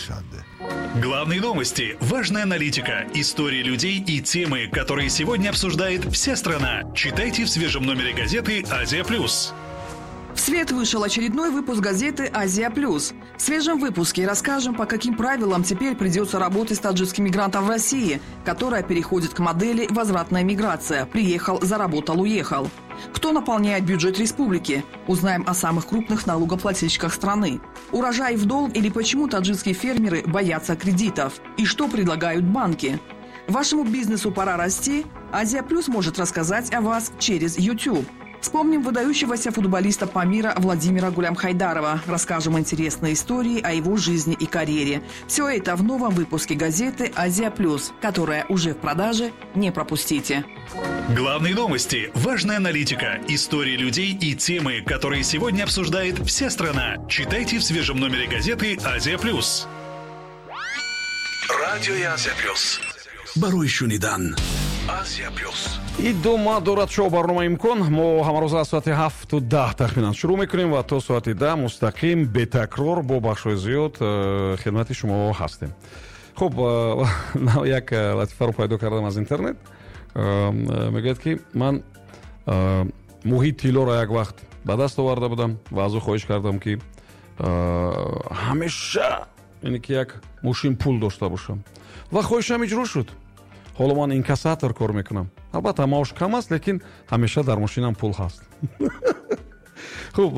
Душанбе. Главные новости, важная аналитика, истории людей и темы, которые сегодня обсуждает вся страна. Читайте в свежем номере газеты «Азия Плюс». В свет вышел очередной выпуск газеты «Азия Плюс». В свежем выпуске расскажем, по каким правилам теперь придется работать с таджикским мигрантом в России, которая переходит к модели «возвратная миграция». Приехал, заработал, уехал. Кто наполняет бюджет республики? Узнаем о самых крупных налогоплательщиках страны. Урожай в долг или почему таджикские фермеры боятся кредитов? И что предлагают банки? Вашему бизнесу пора расти? «Азия Плюс» может рассказать о вас через YouTube. Вспомним выдающегося футболиста Памира Владимира Гулямхайдарова. Расскажем интересные истории о его жизни и карьере. Все это в новом выпуске газеты «Азия Плюс», которая уже в продаже. Не пропустите. Главные новости, важная аналитика, истории людей и темы, которые сегодня обсуждает вся страна. Читайте в свежем номере газеты «Азия Плюс». Радиои Азия Плюс. Барои шунидан. Азия Плюс. Идома дорад шоу барнома «Имкон». Мо ҳамарӯза аз соати 7:10 тахминан шурӯъ мекунем ва то соати 10 мустақим, бетакрор, бо бахшҳои зиёд хидмати шумо ҳастем. Хуб, як латифаро пайдо кардам аз интернет. Мегӯяд, ки ман муҳи тиллоро як вақт ба даст оварда будам ва аз ӯ хоҳиш кардам, ки ҳамеша, яъне ки, як мошин пул дошта бошам, ва хоҳишам иҷро шуд. Ҳоло ман инкассатор кор мекунам. Албатта, маош кам аст, лекин ҳамеша дар мошинам пул ҳаст. Хуб,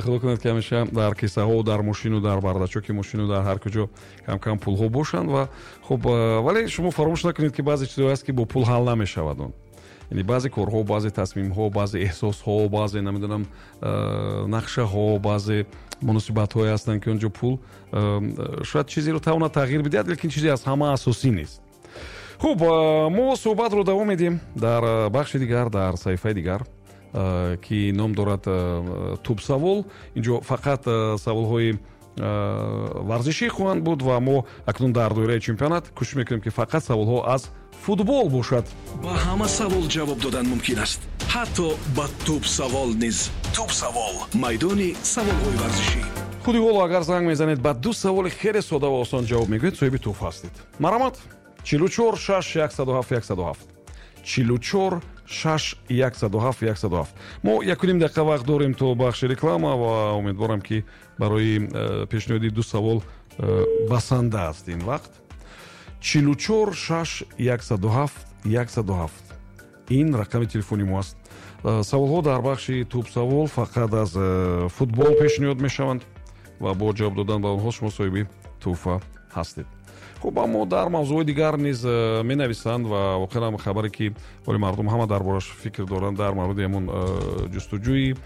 худо кунад, ки ҳамеша дар кисаҳо, дар мошину, дар бардачоки мошину, дар ҳар куҷо кам-кам пулҳо бошанд. Ва хуб, вале шумо фаромӯш накунед, ки баъзе чизҳое ҳаст, ки бо пул ҳал намешавад он. Яъне баъзе корҳо, баъзе тасмимҳо, баъзе эҳсосҳо, баъзе, намедонам, нақшаҳо, баъзе муносибатҳое ҳастанд, ки он ҷо пул шояд чизеро тавонад тағйир бидиҳад, лекин чизе аз ҳама асосӣ нест. Хуб, мо суҳбатро давом медиҳем дар бахши дигар, дар саҳифаи дигар, ки ном дорад «Тӯбсавол». Инҷо фақат саволҳои варзишӣ хоҳанд буд ва мо акнун дар доираи чемпионат кӯшиш мекунем, ки фақат саволҳо аз футбол бошад. Ба ҳама савол ҷавоб додан мумкин аст, ҳатто ба тӯбсавол низ. Тӯбсавол, майдони саволҳои варзишӣ. Худи ҳоло агар занг мезанед, ба ду саволи хеле сода ва осон ҷавоб мегӯед, соҳиби тӯҳфа ҳастед. Марҳамат, 44 6 107 107, 44 6 107 107. Мо 1,5 дақиқа вақт дорем то бахши реклама ва умедворам, ки барои пешниҳоди ду савол басанда аст ин вақт. 44 6 107 107, ин рақами телефони мо аст. Саволҳо дар бахши тӯбсавол фақат аз футбол пешниҳод мешаванд ва бо ҷавоб додан ба онҳо шумо соҳиби тӯҳфа ҳастед. Хуб, аммо дар мавзӯъҳои дигар низ менависанд ва воқеан хабаре, ки ҳоли мардум ҳама дар бораш фикр доранд, дар мавриди ҳамон ҷустуҷӯи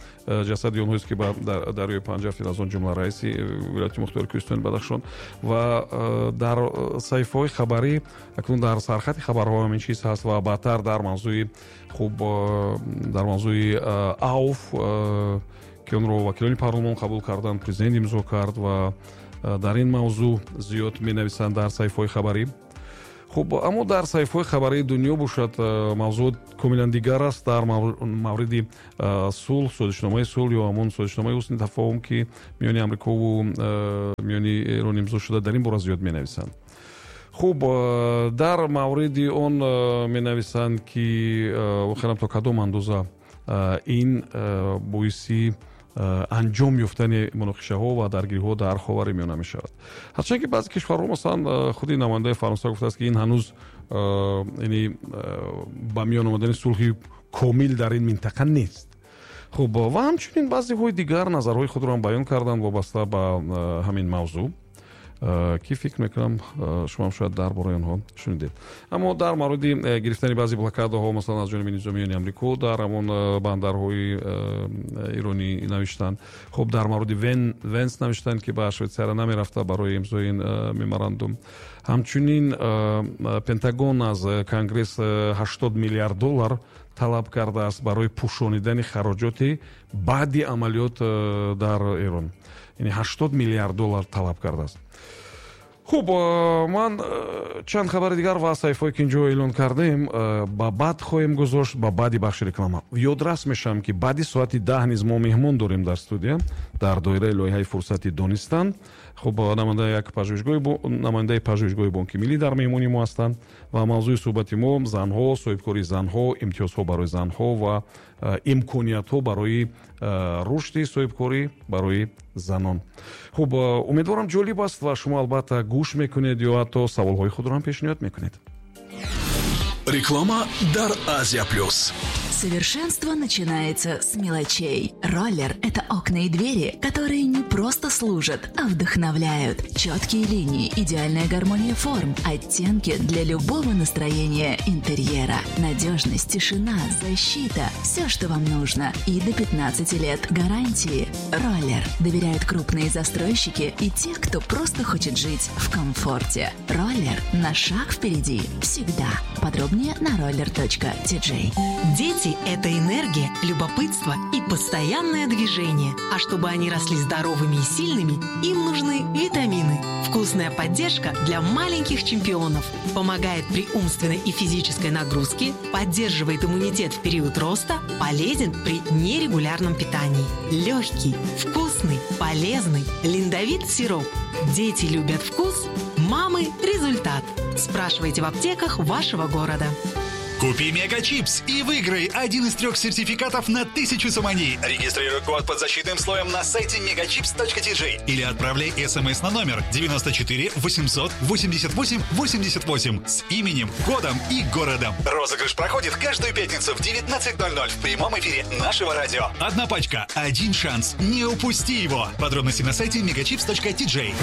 ҷасади онҳоест, ки ба дарёи Панҷ афтид, аз он ҷумла раиси вилояти мухтори Кӯҳистони Бадахшон. Ва дар саҳифаҳои хабарӣ акнун дар сархати хабарҳо ҳамин чиз ҳаст ва баъдтар дар мавзӯи, хуб, дар мавзӯи АУФ, ки онро вакилони парлумон қабул карданд, президент имзо кард, ва дар ин мавзӯъ зиёд менависанд дар саҳифаҳои хабарӣ. Хуб, аммо дар саҳифаҳои хабарии дунё бошад, мавзӯъ комилан дигар аст. Дар мавриди сулҳ, созишномаи сулҳ ё ҳамон созишномаи ҳусни тафоҳум, ки миёни Амрикову миёни Эрон имзо шуда, дар ин бора зиёд менависанд. Хуб, дар мавриди он менависанд, ки воқеан то кадом андоза ин боиси анҷом ёфтани муноқишаҳо ва даргириҳо дар Ховари Миёна мешавад, ҳарчанд ки баъзе кишварҳо, масалан худи намояндаи Фаронса гуфтааст, ки ин ҳанӯз, яъне, ба миён омадани сулҳи комил дар ин минтақа нест. Хуб, ва ҳамчунин баъзеҳои дигар назарҳои худро ҳам баён карданд вобаста ба ҳамин мавзӯъ, ки фикр мекунам, шумоам шояд дар бораи онҳо шунидед. Аммо дар мавриди гирифтани баъзе блокадаҳо, масалан аз ҷониби низомиёни Амрико дар ҳамон бандарҳои иронӣ навиштанд. Хуб, дар мавриди Венс навиштанд, ки ба Швейтсария намерафта барои имзои ин меморандум. Ҳамчунин Пентагон аз Конгресс 80 миллиард доллар талаб кардааст барои пӯшонидани хароҷоти баъди амалиёт дар Эрон, яъне 80 миллиард доллар талаб кардааст. Хуб, ман чанд хабари дигар ва саҳифаое, ки инҷо эълон кардем, ба баъд хоҳем гузошт, ба баъди бахши реклама. Ёдрас мешавам, ки баъди соати 10 низ мо меҳмон дорем дар студия дар доираи лоиҳаи «Фурсати донистан». Хуб, намояндаи пажӯҳишгоҳи Бонки Миллӣ дар меҳмони мо ҳастанд ва мавзӯи суҳбати мо занҳо, соҳибкории занҳо, имтиёзҳо барои занҳо ва имкониятҳо барои рушди соҳибкорӣ барои занон. Хуб, умедворам, ҷолиб аст ва шумо албатта гӯш мекунед ё ҳатто саволҳои худро ҳам пешниҳод мекунед. Реклама дар Азия Плюс. Совершенство начинается с мелочей. Роллер – это окна и двери, которые не просто служат, а вдохновляют. Четкие линии, идеальная гармония форм, оттенки для любого настроения интерьера. Надежность, тишина, защита – все, что вам нужно. И до 15 лет гарантии. Роллер. Доверяют крупные застройщики и те, кто просто хочет жить в комфорте. Роллер на шаг впереди. Всегда. Подробнее на roller.tj. Дети – это энергия, любопытство и постоянное движение. А чтобы они росли здоровыми и сильными, им нужны витамины. Вкусная поддержка для маленьких чемпионов. Помогает при умственной и физической нагрузке, поддерживает иммунитет в период роста, полезен при нерегулярном питании. Легкий, вкусный, полезный. Линдовит сироп. Дети любят вкус, мамы – результат. Спрашивайте в аптеках вашего города. Купи Мегачипс и выиграй один из трех сертификатов на 1000 сомони. Регистрируй код под защитным слоем на сайте megachips.tj или отправляй смс на номер 94 888 88 с именем, кодом и городом. Розыгрыш проходит каждую пятницу в 19.00 в прямом эфире нашего радио. Одна пачка, один шанс. Не упусти его. Подробности на сайте megachips.tj.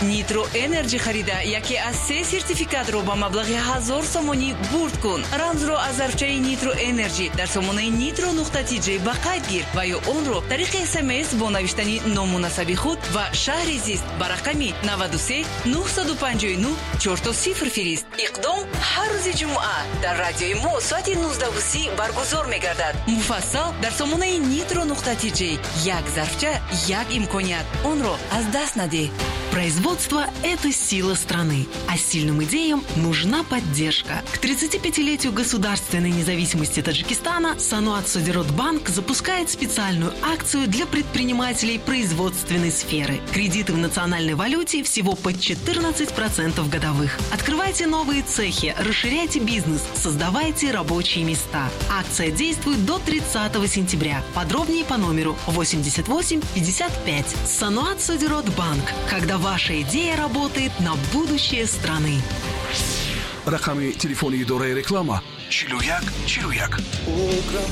Нитро Энерджи харида яке аз се сертификатро ба маблағи 1000 сомонӣ бурд кун. Рамзро аз зарфчаи Нитро Энерджи дар сомонаи nitro.tj ба қайд гир ва ё онро тариқи СМС бо навиштани ному насаби худ ва шаҳри зист ба рақами 93 959 00 фирист. Иқдом ҳар рӯзи ҷумъа дар радиои мо соати 19:30 баргузор мегардад. Муфассал дар сомонаи nitro.tj. Як зарфча, як имконият, онро аз даст надеҳ. Производство – это сила страны, а сильным идеям нужна поддержка. К 35-летию государственной независимости Таджикистана Саноат Содирот Банк запускает специальную акцию для предпринимателей производственной сферы. Кредиты в национальной валюте всего под 14% годовых. Открывайте новые цехи, расширяйте бизнес, создавайте рабочие места. Акция действует до 30 сентября. Подробнее по номеру 88 55. Саноат Содирот Банк. Когда ваша идея работает на будущее страны. Рақами телефони идораи реклама: 41 41.